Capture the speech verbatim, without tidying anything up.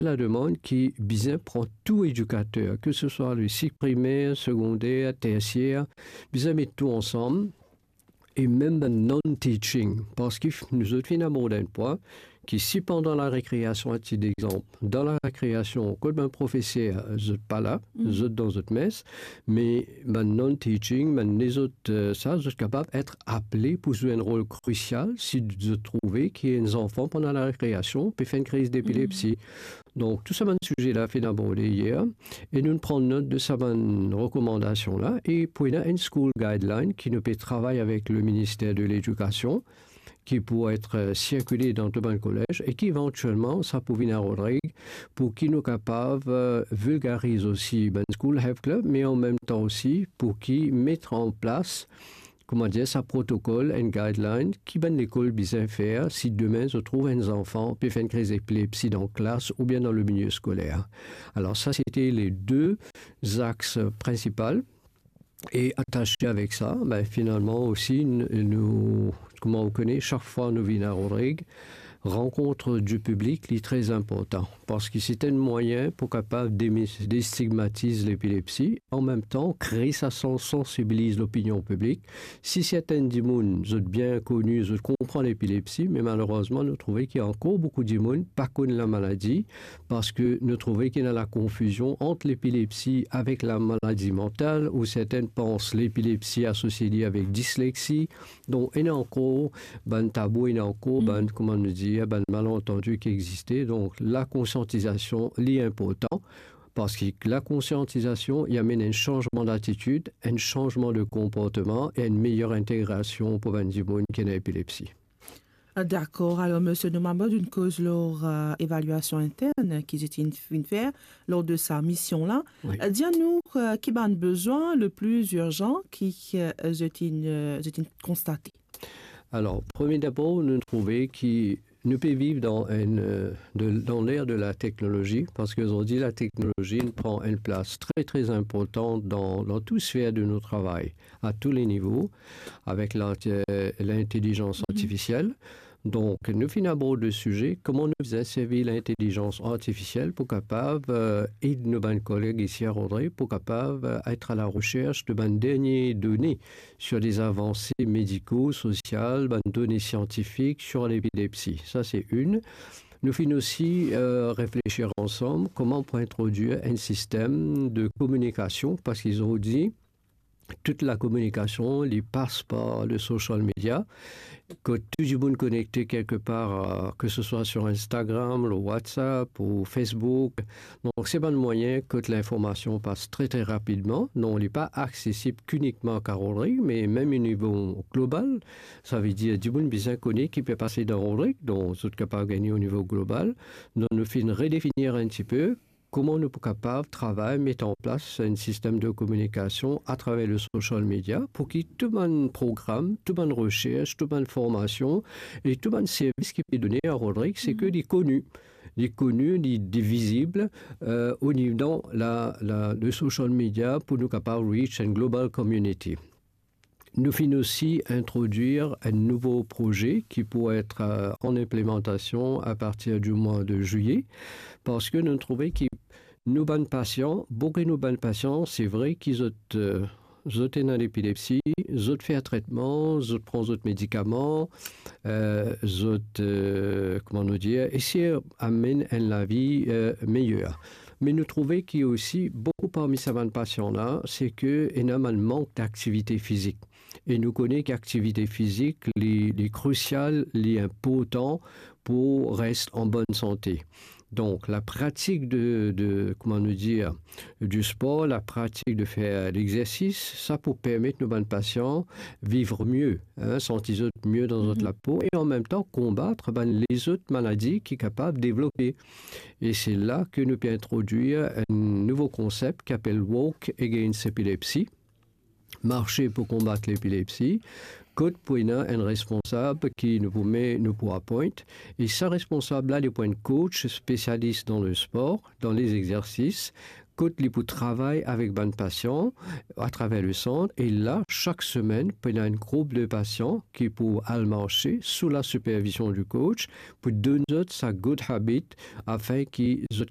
lademann ki bizin pran tou edikater, ke se swa le sik primer, segonder, tersier, bizin met tou ansam, e mem bann non-teaching, parski f-, nou zot finn abord enn pwin ki si pandan larekreasion, a tit dexanp, dan larekreasion, kot bann profeser, zot pa la, zot dan zot mes, me bann non-teaching, bann lezot, eh, sa, zot kapav et apele pou zwe enn rol krisial si zot trouve ki enn zanfan pandan larekreasion pe fer enn kriz depilepsi. Donk, tou sa bann size la finn aborde yer, e nou pran not de sa bann rekomandasion la, e pou ena enn school guideline ki nou pe travay avek le Minister de Ledikasion, ki pou et, eh, sirkile dan tou bann kolez, e ki evantielman sa pou vinn a Rodrig, pou ki nou kapav, eh, vilgariz osi bann school health club, me an mem tan osi pou ki met an plas, kouma dir, sa protokol, enn guideline, ki bann lekol bizin fer si demin zot trouv enn zanfan pe fer enn kriz epilepsi dan klas oubien dan le milie skoler. Alor, sa, se te le de zaks prinsipal. E atase avek sa, be, finalman osi, n-, nou, kouma ou kone, sak fwa nou vinn a Rodrig, rankont di piblik, li tre inportan, parski se enn mwayin pou kapav demi-, destigmatiz lepilepsi, an mem tan, kre sa sans-, sansibiliz lopinion piblik. Si sertin dimoun, zot bien koni, zot konpran lepilepsi, me malerezman, nou trouve ki ankor boukou dimoun pa konn lamaladi, parski nou trouve ki ena lakonfizion ant lepilepsi avek lamaladi mantal, ou sertin pans lepilepsi asosie li avek dislexi. Donk, ena ankor bann tabou, ena ankor bann, kouma nou dir, bann malantandi ki existe. Donk, lakonsiantizasion, li inportan, parski lakonsiantizasion, li amenn enn sanzman latitid, enn sanzman de konportman e enn meyer integrasion pou bann dimoun ki ena epilepsi. Ah, dakor. Alor, misie, nou mem inn koz lor, eh, evaliasion intern ki zot inn, inn fer lor de sa mision la. Wi. Eh, dir nou, eh, ki bann bizin le pli irzan ki, eh, zot inn, eh, zot inn konstate. Alor, premie dabor, nou trouve ki nou pe viv dan enn, eh, de, dan ler de lateknolozi, parski zordi lateknolozi inn pran enn plas tre, tre inportan dan, dan tou sfer de nou travay, a tou le nivo, avek la, eh, lintelizans artifisiel. Donk, nou finn abord le size, kouma nou bizin servi lintelizans artifisiel pou kapav, eh, ed nou bann koleg isi a Rodrig, pou kapav, eh, et a la resers de bann dernie done sur les avanse mediko, sosial, bann done siantifik sur lepilepsi. Sa, se enn. Nou finn osi, eh, reflesir ansam kouma pou introdwir enn sistem de kominikasion, parski zordi, tout lakominikasion, li pas par le social media. Kot tou dimoun konekte kelkepar, eh, ke se swa sur Instagram, le WhatsApp ou Facebook. Donk, se bann mwayin kot linformasion pas tre, tre rapidman. Non, li pa aksesib ki inikman a Rodrig, me mem o nivo global. Savedir, dimoun bizin kone ki pe pase dan Rodrig, donk zot kapav gagne o nivo global. Donk, nou finn redefinir enn tipe kouma nou pou kapav travay, met an plas enn sistem de kominikasion atraver le social media pou ki tou bann program, tou bann resers, tou bann formasion e tou bann servis ki pe done a Rodrig, se ke li koni. Li koni, li vizib, eh, o nivo dan la, la, le social media pou nou kapav reach enn global community. Nou finn osi introdwir enn nouvo proze ki pou et, eh, an inplimantasion a partir di mwa de zilye, parski nou trouve ki nou bann pasian, boukou nou bann pasian, se vre ki zot, eh, zot ena lepilepsi, zot fer tretman, zot pran zot medikaman, eh, zot, eh, kouma nou dir, esey amenn enn lavi, eh, meyer. Me nou trouve ki osi boukou parmi sa bann pasian la, se ke ena bann mank daktivite fizik. E nou kone ki aktivite fizik, li, li krisial, li inportan pou res an bonn sante. Donk, la pratik de, de, kouma nou dir, di spor, la pratik de fer lexersis, sa pou permet nou bann pasian viv mie, hein, santi zot mie dan zot lapo e an mem tan konbat bann lezot maladi ki kapav devlope. E se la ke nou pe introdwir enn nouvo konsep ki apel Walk Against Epilepsy, marse pou konbat lepilepsi, kot pou ena enn responsab ki nou pou met, nou pou appoint, e sa responsab la, li pou enn coach spesialis dan lespor, dan lezexersis, kot li pou travay avek bann pasian atraver le sant, e la, sak semenn, pou ena enn group de pasian ki pou al marse sou la sipervizion di coach pou donn zot sa good habit, afin ki zot